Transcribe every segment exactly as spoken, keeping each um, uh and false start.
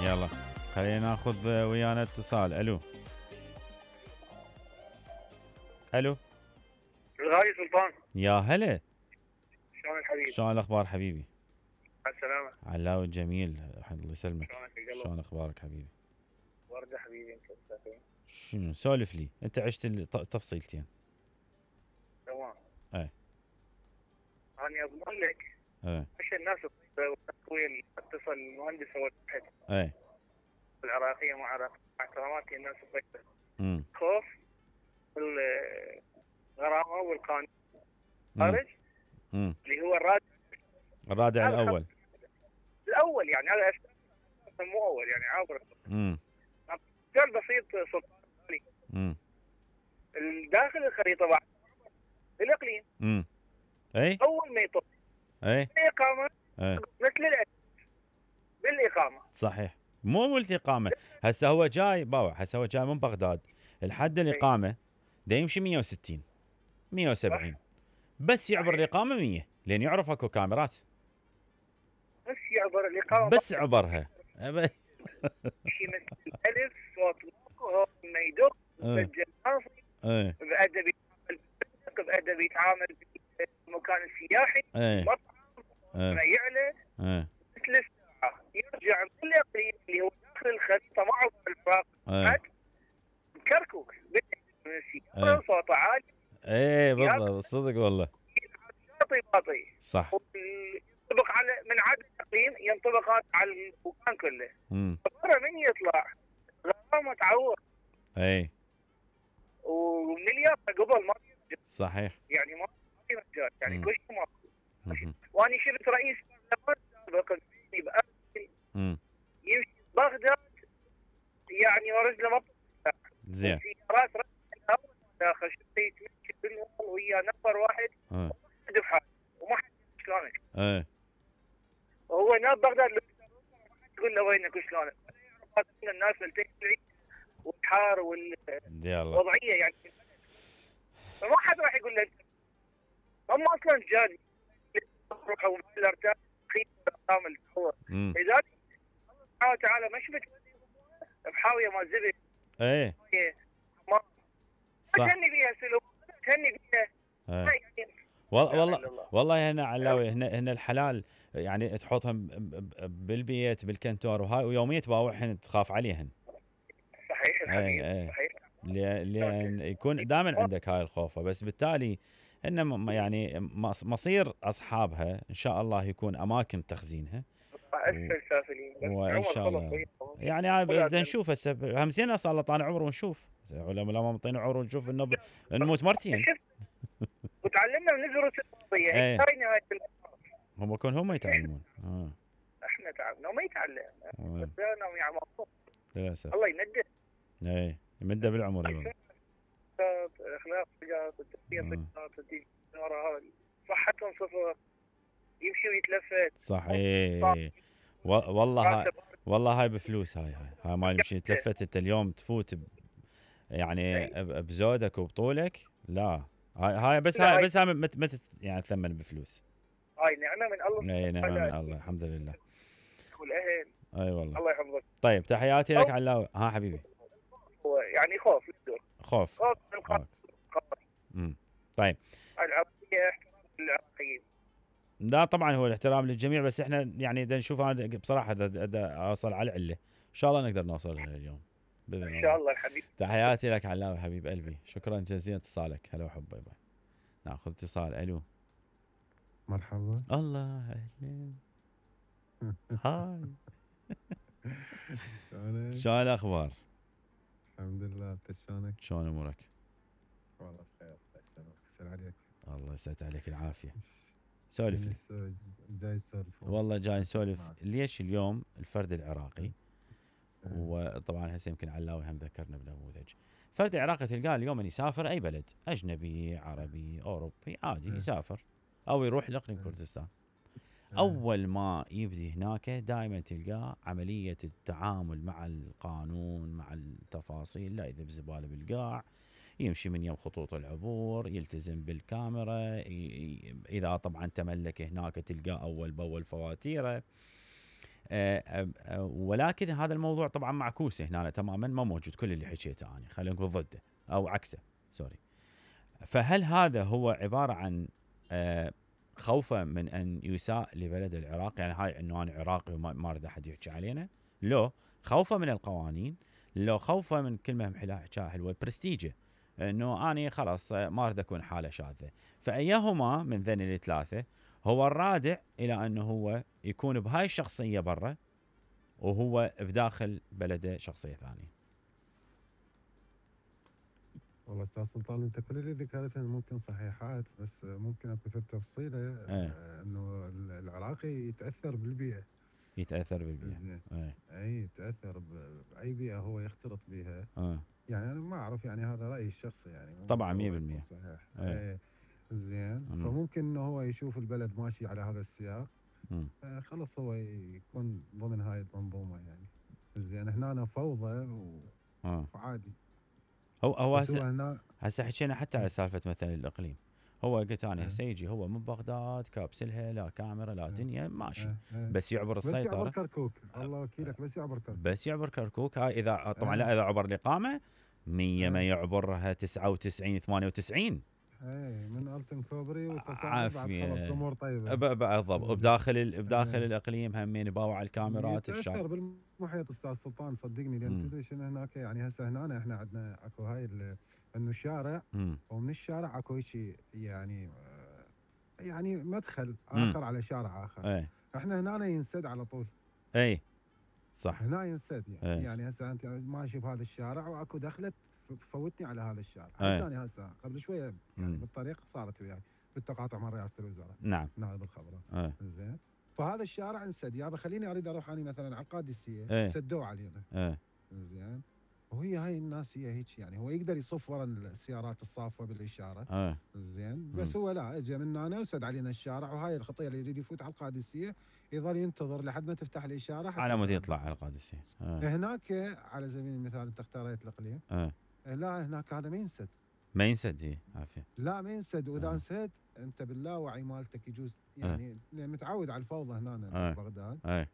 يلا خلينا ناخذ ويانا اتصال. الو الو الغالي سلطان، يا هلا، شلونك حبيبي؟ شلون الاخبار حبيبي؟ على السلامة. علاوي الجميل، الله يسلمك. شلونك يا قلب؟ شلون اخبارك حبيبي؟ وردة حبيبي، انت مستقيم؟ شنو سولف لي، انت عشت التفصيلتين. تمام. اي انا اضمن لك اي مش الناس التقوية اللي اتصل المهندس هو الواحد اي العراقية مع عراق مع احتراماتي الناس الطيبة. امم خوف الغرامة والقانون خارج امم اللي هو الرادع الرادع هذا الاول. الاول يعني هذا أساس مو اول يعني عابر. امم مثال بسيط سلطان، امم داخل الخريطة بعد الاقليم امم اي اول ما يطب اي الاقامة اي مثل الأجل بالاقامة. صحيح، مو ملتي اقامه. هسه هو جاي باوع، هسه هو جاي من بغداد، الحد الاقامه دا يمشي مية وستين مية وسبعين، بس يعبر الاقامه مية لان يعرف اكو كاميرات. بس يعبر الاقامة بس عبرها شيء مثل الالف صوت هو ما يدق مسجل ناصي ايه بادب يتعامل بادب يتعامل بالمكان السياحي ايه مطعم ايه ما يعلى ايه مثل الساعه يرجع من الاقليم اللي هو داخل الخريطه معه الفراق ايه كركوك ايه صوته عالي ايه بالضبط، صدق والله باطي باطي صح. ينطبق على من عدد الاقليم ينطبق على المكان كله. امم من يطلع غرامه تعور اي ومليار قبل ما صحيح يعني ما في مجال يعني مم. كل شيء ما مم. وانا شفت رئيس سابق امم يمشي بغداد يعني ورجله ما زين سيارات داخل شفت يتمشي بالنور ويا نفر واحد اه دفعه وما حد شلونك ايه وهو ناب بغداد تقول له وينك وشلونك الناس التكلي والحار والوضعيه يعني فما حد راح يقول له انت هم اصلا جاني روحوا الارتاح خير كامل هو لذلك الله سبحانه وتعالى ما شفت بحاويه ما زبد ايه ما صح تهني بيها سلوك تهني بيها ايه. والله والله والله هنا علاوي هنا هنا الحلال يعني تحطهم بالبيت بالكنتور وهاي ويوميا تباوعهن تخاف عليهن. صحيح الحبيب ايه صحيح لان يكون دائما عندك هاي الخوفه، بس بالتالي ان يعني مصير اصحابها ان شاء الله يكون اماكن تخزينها اسفل سافلين وان شاء الله يعني هاي نشوف هسه هم زين صار له طالع عمر ونشوف علماء ما مطينا عمر ونشوف انه نموت مرتين وتعلمنا من الدروس الوصيه هي نهايه هم يكون هم يتعلمون اه احنا تعلمنا وما يتعلم بدانا يعني للاسف الله يمده ايه يمده بالعمر والله اخلاق التربيه صحتهم صفر يمشي ويتلفت صحيح والله هاي والله هاي بفلوس هاي هاي هاي ما يمشي تلفت انت اليوم تفوت ب يعني بزودك وبطولك لا هاي هاي بس هاي بس هاي مت مت يعني تثمن بفلوس. هاي نعمه من الله. اي نعمه من الله الحمد لله. والاهل اي والله الله يحفظك. طيب تحياتي لك علاوي. ها حبيبي هو يعني خوف خوف خوف امم طيب العربيه احترام للعراقيين. لا طبعا هو الاحترام للجميع، بس احنا يعني بدنا نشوف انا بصراحه اوصل على العله ان شاء الله نقدر نوصل لها اليوم باذن الله ان شاء الله حبيبي. تحياتي لك علاوي حبيب قلبي، شكرا جزيلا اتصالك. هلا وحب باي باي. ناخذ اتصال. الو مرحبا. الله اهلا هاي شلونك؟ شلون الاخبار؟ الحمد لله، انت شلونك؟ شلون امورك؟ والله بخير الله يسلمك. يسلم عليك. الله يسعد عليك العافيه. سولف لي. جاي نسولف والله جاي نسولف ليش اليوم الفرد العراقي وطبعا هسه يمكن علاوي هم ذكرنا بنموذج فرد العراقي تلقاه اليوم ان يسافر اي بلد اجنبي عربي اوروبي عادي يسافر او يروح لاقليم كردستان، اول ما يبدي هناك دائما تلقاه عمليه التعامل مع القانون مع التفاصيل لا يذب زباله بالقاع، يمشي من يم خطوط العبور، يلتزم بالكاميرا، اذا طبعا تملك هناك تلقاه اول باول فواتيره. آه آه ولكن هذا الموضوع طبعا معكوس هنا تماما، ما موجود كل اللي حكيته انا، خلينا نقول ضده او عكسه سوري. فهل هذا هو عباره عن آه خوفه من ان يساء لبلد العراق، يعني هاي انه انا عراقي وما اريد احد يحكي علينا؟ لو خوفه من القوانين، لو خوفه من كلمه حكاها حلوه برستيجه، انه اني خلاص ما اريد اكون حاله شاذه. فايهما من ذني الثلاثه هو الرادع الى انه هو يكون بهاي الشخصيه برا وهو بداخل بلده شخصيه ثانيه؟ والله استاذ سلطان انت كل اللي ذكرته ممكن صحيحات، بس ممكن اكو في التفصيله ايه. انه العراقي يتاثر بالبيئه. يتاثر بالبيئه. زين. ايه. اي يتاثر باي بيئه هو يختلط بها. اه. يعني انا ما اعرف، يعني هذا رايي الشخصي يعني. طبعا مية بالمية صحيح. ايه. اي زين. مم. فممكن انه هو يشوف البلد ماشي على هذا السياق، آه خلص هو يكون ضمن هاي المنظومه يعني. زين هنا فوضى و... اه. فعادي. هو هو بس هو هنا هسه حكينا حتى على سالفه مثلا الاقليم. هو قلت انا إيه. هسه يجي هو من بغداد كابسلها، لا كاميرا لا إيه. دنيا ماشي، إيه. إيه. بس يعبر بس يعبر السيطره، كركوك، الله وكيلك، بس يعبر كركوك. بس يعبر كركوك. هاي اذا طبعا إيه. لا اذا عبر الاقامه مية ما إيه. يعبرها تسعة وتسعين ثمانية وتسعين. اي من التن كوبري وتصاعد بعد عافية. خلاص الامور طيبه. ب- بالضبط. وبداخل ال- بداخل إيه. الاقليم همين باوع الكاميرات يتاثر الشارع. بالمحيط استاذ سلطان صدقني، لان مم. تدري شنو هناك يعني. هسه هنا احنا عندنا اكو هاي ال- انه الشارع، مم. ومن الشارع اكو شيء يعني آه، يعني مدخل مم. اخر على شارع اخر. اي احنا هنا ينسد على طول. اي صح. هنا ينسد يعني. إيه. يعني هسه انت ماشي بهذا الشارع واكو دخلت فوتني على هذا الشارع. إيه. هسه انا هسه قبل شويه يعني مم. بالطريق صارت وياي بالتقاطع مع رئاسه الوزراء نعم. نائب الخبراء. اي زين. فهذا الشارع انسد، يابا خليني اريد اروح اني مثلا على القادسيه. إيه. سدوا علينا. اي زين. وهي هاي الناس هي هيك يعني، هو يقدر يصف ورا السيارات الصافه بالاشاره. اي زين. بس هو لا، اجى من هنا وسد علينا الشارع، وهاي الخطيه اللي يريد يفوت على القادسيه يظل ينتظر لحد ما تفتح الاشاره حتى على مود يسلم. يطلع على القادسيه. اي هناك على سبيل المثال انت اختاريت الاقليم، اي لا هناك هذا ما ينسد. ما ينسد. هي عافيه. لا ما ينسد، واذا آه. انسد انت باللاوعي مالتك يجوز يعني آه. متعود على الفوضى هنا آه. ببغداد. اي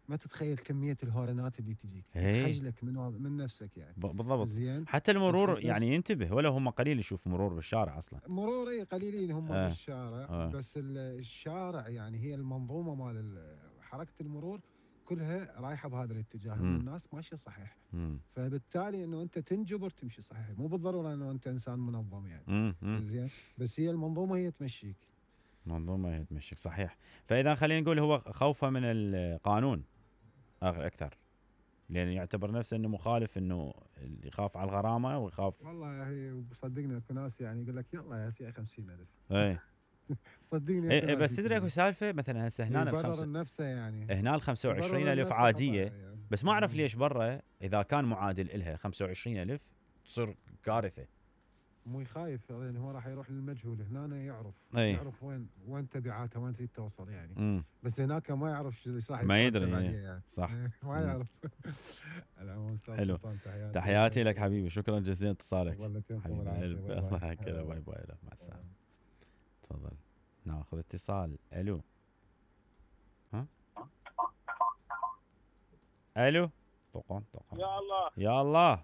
ما تتخيل كميه الهورنات اللي تجيك إيه. تحجلك من من نفسك يعني. بالضبط. زين. حتى المرور تحس يعني نفس- ينتبه، ولا هم قليل يشوف مرور بالشارع اصلا. مرور اي قليلين هم آه. بالشارع. آه. بس ال- الشارع يعني هي المنظومه مال ال- حركه المرور كلها رايحه بهذا الاتجاه، مم. انه الناس ماشيه صحيح. امم فبالتالي انه انت تنجبر تمشي صحيح، مو بالضروره انه انت انسان منظم يعني. امم زين. بس هي المنظومه هي تمشيك. منظومه هي تمشيك صحيح. فاذا خلينا نقول هو خوفه من القانون أغ- اكثر، لان يعتبر نفسه انه مخالف، انه يخاف على الغرامه ويخاف. والله هي صدقني اكو ناس يعني يقول لك يلا يا سي خمسين ألف. اي صدقني إيه بس تدري اكو سالفه مثلا هسه هنا يبرر الخمسه نفسه يعني. هنا ال خمسة وعشرين يبرر ألف نفسه عاديه، خطأ يعني. بس ما اعرف ليش برا اذا كان معادل إلها خمسة وعشرين ألف تصير كارثه. مو يخايف يعني، هو راح يروح للمجهول. هنا يعرف أي. يعرف وين وين تبعاته، وين تريد توصل يعني. امم بس هناك ما يعرف ايش راح ما يترتب يدري، عليه إيه. يعني. صح. ما مم. يعرف. العموم استاذ حلو. سلطان تحياتي. تحياتي لك حبيبي، شكرا جزيلا اتصالك. والله يعطيكم حبيب العافية. القلب. باي باي. الله يحكي هلا باي باي. مع السلامه. تفضل ناخذ اتصال. الو. ها الو. طقن طقن. يا الله يا الله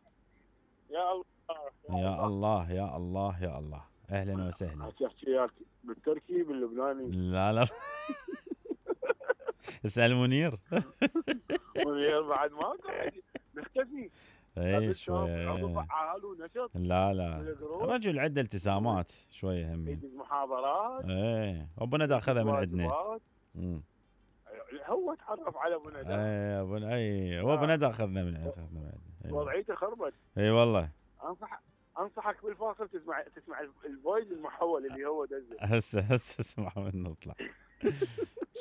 يا الله يا الله يا الله يا الله. اهلا وسهلا. تحكي وياك بالتركي باللبناني لا لا اسال منير. منير بعد ما قاعد نختفي. اي شويه. عضو فعال ونشط لا لا بالجروب. رجل عنده التزامات شويه همين. يدز محاضرات. ايه ابو ندى اخذها من عندنا. واجبات. امم هو تعرف على ابو ندى. اي ابو اي هو ابو ندى اخذنا من اخذنا من عندنا. أيوة. وضعيته خربت. اي والله. انصح انصحك بالفاصل تسمع تسمع الفويس المحول اللي هو دزه. هسه هسه اسمع من نطلع.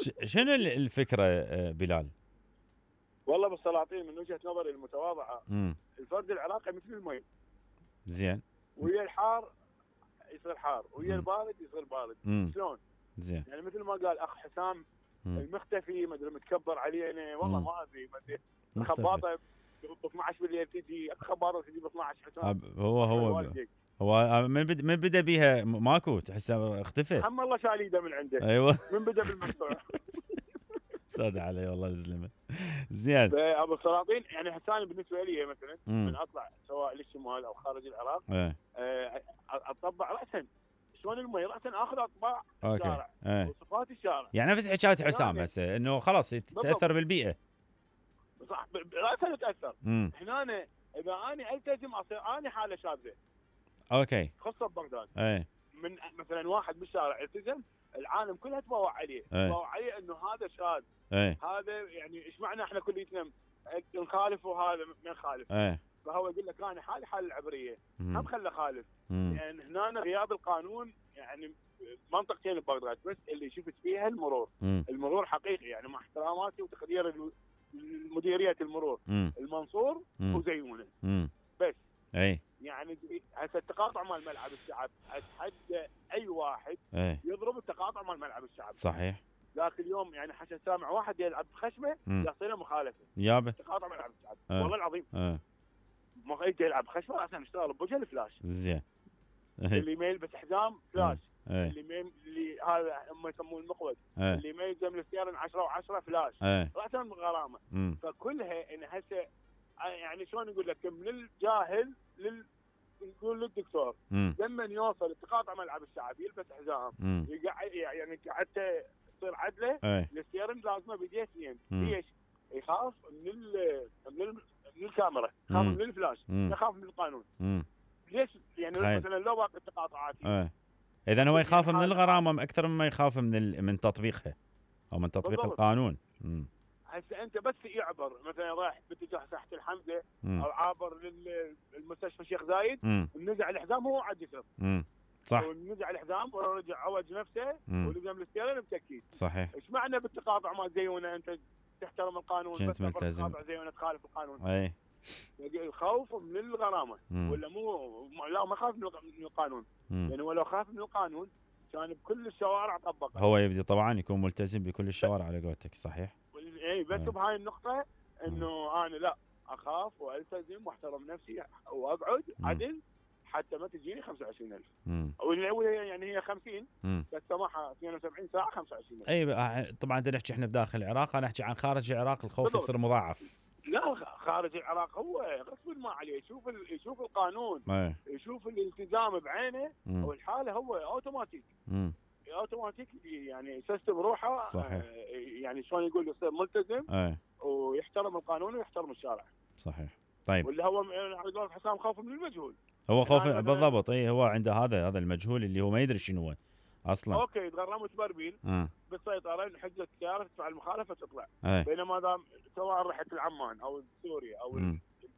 ش- شنو ال- الفكره آه، بلال؟ والله بالسلاطين من وجهه نظري المتواضعه، امم الفرد العراقي مثل المي، زين. ويا الحار يصير حار، ويا مم. البارد يصير بارد. امم شلون؟ زين. يعني مثل ما قال اخ حسام مم. المختفي ما ادري متكبر علينا، والله مم. ما ادري ما ادري مختفي. خباطه ب اثنعش بالليل تجي، اكو خباطه تجي ب اثنعش حسام. أب- هو هو والديك. هو آه، من بد من بدا بيها م- ماكو تحسه اختفى. هم الله شال ايده من عنده ايوه من بدا بالمقطوع. سود علي والله الزلمه. زين ابو السلاطين يعني حساني بالنسبه لي مثلا من اطلع سواء للشمال او خارج العراق ايه اطبع راسا شلون المي راسا اخذ اطباع الشارع ايه. وصفات الشارع يعني نفس حكايه حسام هسه انه خلاص تتاثر بالبيئه صح راسا تتاثر. هنا اذا انا التزم اصير انا حاله شاذه اوكي خاصه ببغداد ايه. من مثلا واحد بالشارع التزم العالم كلها تبوع عليه ايه. تبوع عليه انه هذا شاذ ايه. هذا يعني ايش معنى احنا كليتنا نخالف وهذا ما نخالف ايه. فهو يقول لك انا حالي حال العبريه هم خلى خالف. مم. يعني هنا غياب القانون يعني منطقتين ببغداد بس اللي شفت فيها المرور. مم. المرور حقيقي يعني مع احتراماتي وتقدير مديريه المرور مم. المنصور مم. وزيونه مم. بس اي يعني هسه التقاطع مال ملعب الشعب اتحدى اي واحد اي يضرب التقاطع مال ملعب الشعب. صحيح. ذاك اليوم يعني حتى سامع واحد يلعب بخشمه يحصل له مخالفه يابا تقاطع ملعب الشعب. اه. والله العظيم اه. ما يجي يلعب خشمه عشان يشتغل بوجه الفلاش. زين اللي ما يلبس حزام فلاش. اه. اللي ما اللي هذا هم يسموه المقود. اه. اللي ما يلزم السيارة عشرة وعشرة فلاش. اه. راسا غرامه. مم. فكلها ان هسه يعني شلون اقول لك من الجاهل لل نقول للدكتور لما يوصل التقاطع ملعب الشعب يلبس حزام يقعد يعني قعدته تصير عدله الستيرنج لازمه بيديه اثنين. ليش؟ يخاف من ال من, ال من الكاميرا يخاف من الفلاش يخاف من القانون. مم. ليش يعني خير. مثلا لو باقي التقاطعات اه. اذا هو يخاف من الغرامه اكثر مما يخاف من ال... من تطبيقها او من تطبيق بالضبط. القانون. امم هسه انت بس يعبر مثلا رايح باتجاه ساحه الحمزه مم. او عابر للمستشفى الشيخ زايد ونزع الحزام هو عاد يسر. امم صح ونزع الحزام ورجع عوج نفسه ولزم الستيرن بتكيد. صحيح. ايش معنى بالتقاطع ما زيونه انت تحترم القانون بس ملتزم تقاطع زيونه تخالف القانون. اي الخوف من الغرامه مم. ولا مو لا ما خاف من القانون. مم. يعني ولو خاف من القانون كان بكل الشوارع طبقه. هو يبدي طبعا يكون ملتزم بكل الشوارع على قولتك. صحيح. اي بس بهاي النقطه انه انا لا اخاف والتزم واحترم نفسي واقعد مم. عدل حتى ما تجيني خمسة وعشرين ألف. يعني هي خمسين مم. بس سماحه اثنين وسبعين ساعه خمسة وعشرين ألف. اي طبعا بدنا نحكي احنا بداخل العراق انا احكي عن خارج العراق الخوف بالضبط. يصير مضاعف. لا خارج العراق هو غصب ما عليه يشوف يشوف القانون أيه. يشوف الالتزام بعينه مم. والحاله هو اوتوماتيك مم. اوتوماتيك يعني يسيستم روحه. صحيح. يعني شلون يقول يصير ملتزم أيه. ويحترم القانون ويحترم الشارع. صحيح. طيب واللي هو على قول حسام خوف من المجهول. هو خوف يعني بالضبط. اي هو عنده هذا هذا المجهول اللي هو ما يدري شنو هو اصلا. اوكي تغرمت بربيل بالسيطره حجه السياره تدفع المخالفه تطلع. أيه. بينما دام سواء رحت لعمان او سوريا او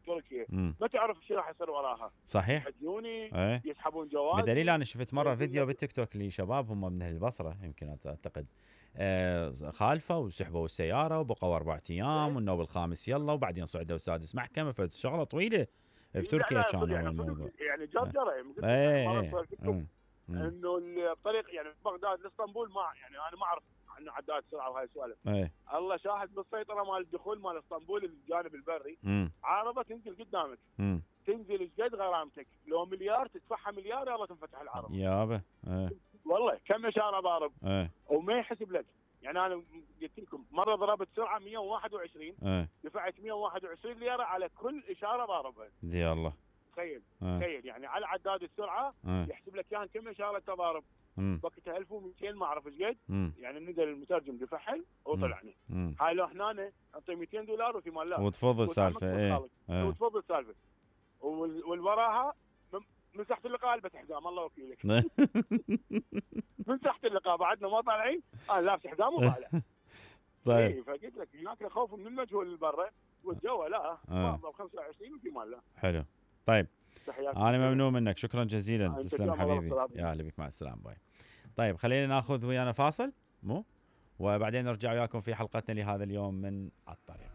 تركيا ما تعرف ايش راح يصير وراها. صحيح. يحجوني أيه. يسحبون جواز. بدليل انا شفت مره فيديو بالتيك توك لشباب هم من البصره يمكن اعتقد آه خالفه وسحبوا السياره وبقوا اربع ايام والنوب الخامس يلا وبعدين صعدوا السادس محكمه فشغله طويله بتركيا كان يعني الموضوع. يعني جرجره ايه انه الطريق يعني بغداد لاسطنبول ما يعني انا ما اعرف عن عداد سرعه وهاي السوالف. ايه. الله شاهد بالسيطره مال الدخول مال اسطنبول الجانب البري مم. عارضه تنزل قدامك. مم. تنزل ايش قد غرامتك لو مليار تدفعها مليار يلا تنفتح العرض. يابا. ايه. والله كم اشاره ضارب. ايه. وما يحسب لك. يعني انا قلت لكم مره ضربت سرعه مية وواحد وعشرين. ايه. دفعت مية وواحد وعشرين ليره على كل اشاره ضاربها. دي الله. تخيل تخيل يعني على عداد السرعه أه. يحسب لك كان كم اشاره تضارب. وقتها ألف ومئتين ما اعرف ايش قد. يعني نزل المترجم دفعل وطلعني. هاي لو هنا نعطي مئتين دولار وفي مال لا وتفضل سالفه. ايه. اه. وتفضل سالفه والوراها من تحت اللقاء البس حزام الله وكيلك. من تحت اللقاء بعدنا ما طالعين انا لابس حزام وطالع. طيب. ايه فقلت لك هناك خوف من المجهول اللي برا والجو لا اه. خمسة وعشرين وفي مال لا. حلو. طيب انا ممنون منك شكرا جزيلا. تسلم حبيبي يا هلا بك مع السلامه باي. طيب خلينا ناخذ ويانا فاصل مو وبعدين نرجع وياكم في حلقتنا لهذا اليوم من الطريق.